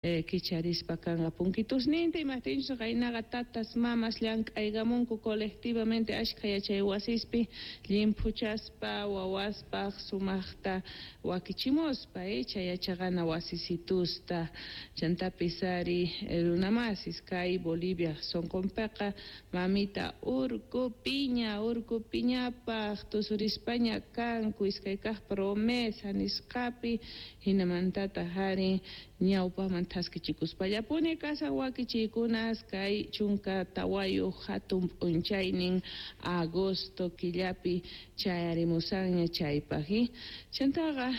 Kicharispa kanqa punkitusninta, imajtinchus qaynaqa tatas mamas llank'aykamunku colectivamente ashkha yachay wasispi llimphuchaspa wawaspaq sumaqta wakichimuspa chay yachaqana wasisitusta. Chantapis ari runamasis kay Bolivia sonqonpiqa mamita Urkupiña Urkupiñapaq tusurispaña kanku iskay kaq promesa nisqapi, hinamantataq ari ñawpaqman thaskichikuspallapuni kashan wakichiykunas kay 14 hatun p'unchaynin agosto killapi chayarimusanña chaypaq. Chantaqa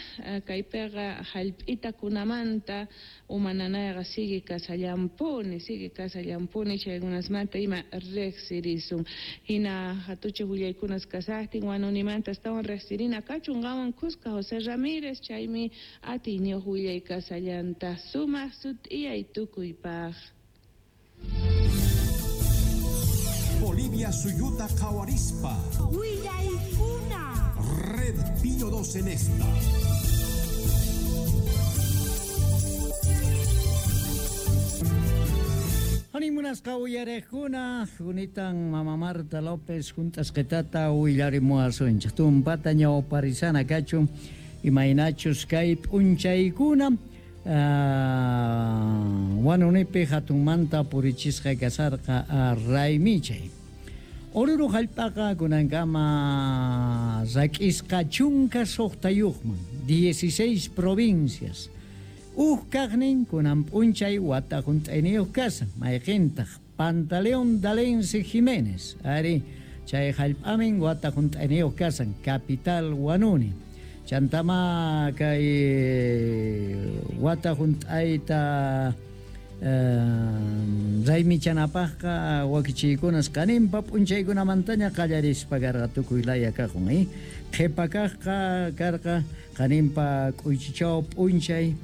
kaypiqa hallp'itakunamanta umananayqa sigue kasallampuni chaykunasmanta ima riqsirisun. Hina hatuchej willaykunas kasaqtin Huanunimanta astawan riqsirina kachun qanwan khuska José Ramírez, chaymi atiyniyuq willay kasallanta sumaq sut'iyay tukuypaq. Bolivia suyuta qhawarispa willaykuna. Red Pío 2 en esta. Animunasqa uyarejkuna, junitan mama Marta López juntasqetata willarimuwasunchik. Tumpata ñawparisana kachun imaynachus kay p'unchaykuna Huanunipi hatunmanta purichisqa kasarqa raymichay. Oruro hallp'aqa kunankama rak'isqa 16yuqman, 16 provincias. Uj kaqnin kunan p'unchay wata junt'ayniyuq kasan, mayqintaq Pantaleón Dalense Jiménez, ari chay hallp'amin wata junt'ayniyuq kasan, capital Huanuni. Chantama kay wata junt'ayta raymichanapaqqa wakichiykunas qaninpa p'unchaykunamantaña qallarispa karqa tukuy laya kaqun, Qhipa kaqqa karqa qaninpa k'uychichaw p'unchay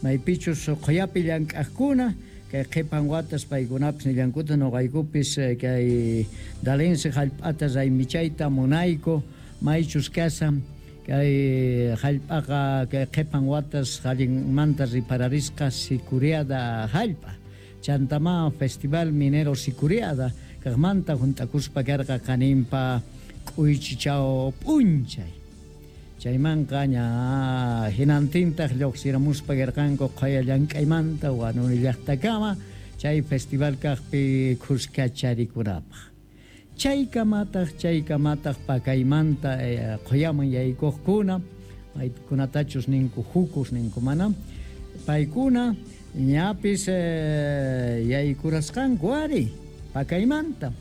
maypichus qhuyapi llank'aqkuna kay qhipan watas paykunapis nillankuta nuqaykupis kay Dalense hallp'ata raymichayta munayku maychus kasan kay hallp'aqa kay qhipan watas allinmanta ripararisqa Sicuriada hallp'a. Chantama Festival Minero Sicuriada kaqmanta junt'akuspa karqa qaninpa k'uychichaw p'unchay. Chaymanqa ña hinantintaq lluqsiramuspa karqanku qhaya llank'aymanta Huanuni llaqtakama chay festival kaqpi khuskacharikunapaq. Chaykamataq pakaymanta qhuyaman yaykuqkuna maykunatachus ninku jukus ninku mana paykuna ñapis yaykurasqanku ari pakaymanta.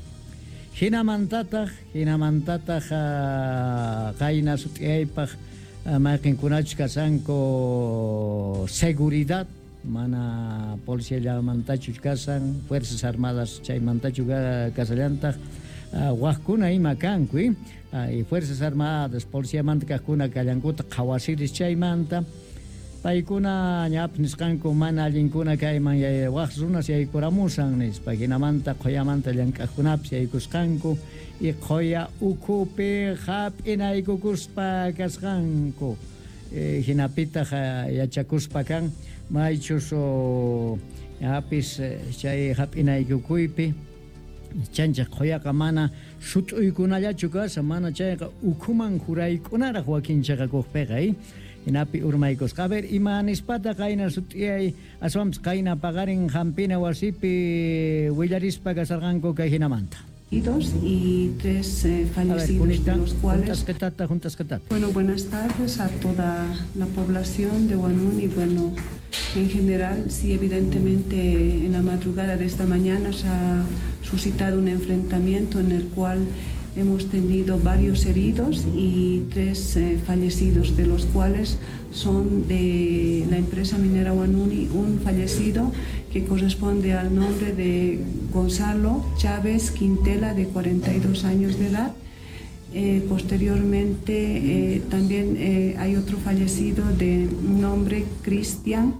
Hinamantataq qayna sut'iyaypaq mayqinkunachus kasanku seguridad mana policiallamantachu kasan, Fuerzas Armadas chaymantachu kasallantaq waqkuna ima kanku, y Fuerzas Armadas policiamanta kaqkuna kallankuta qhawasiris chaymanta paykuna ñapis nisqanku mana allinkuna kayman waq runas yaykuramusan nispa, hinamanta qhuyamanta llank'aqkunapis yaykusqanku y qhuya ukhupi hap'inaykukuspa kasqanku. Hinapitaq yachakuspa kan maychus ñapis chay hap'inaykukuypi chanchaq qhuyaqa mana sut'uykunallachu kashan, mana chayqa ukhuman juraykunaraq wakinchaqakuqpiqa, hinapi urmaykusqa. A ver, ima nispata qayna sut'iyay aswanpis qayna paqarin hampina wasipi willarispa kasarqanku kay hinamanta. Y 3 fallecidos, de los cuales... Juntas. Bueno, buenas tardes a toda la población de Huanuni. Bueno, en general, sí, evidentemente, en la madrugada de esta mañana se ha suscitado un enfrentamiento en el cual hemos tenido varios heridos y 3 fallecidos, de los cuales son de la empresa minera Huanuni, un fallecido que corresponde al nombre de Gonzalo Chávez Quintela, de 42 años de edad. Posteriormente también hay otro fallecido de nombre Cristian,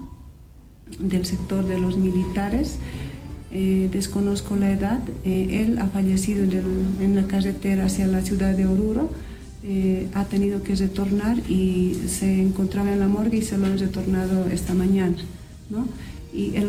del sector de los militares. Desconozco la edad. Él ha fallecido en la carretera hacia la ciudad de Oruro. Ha tenido que retornar y se encontraba en la morgue y se lo han retornado esta mañana, ¿no? Y el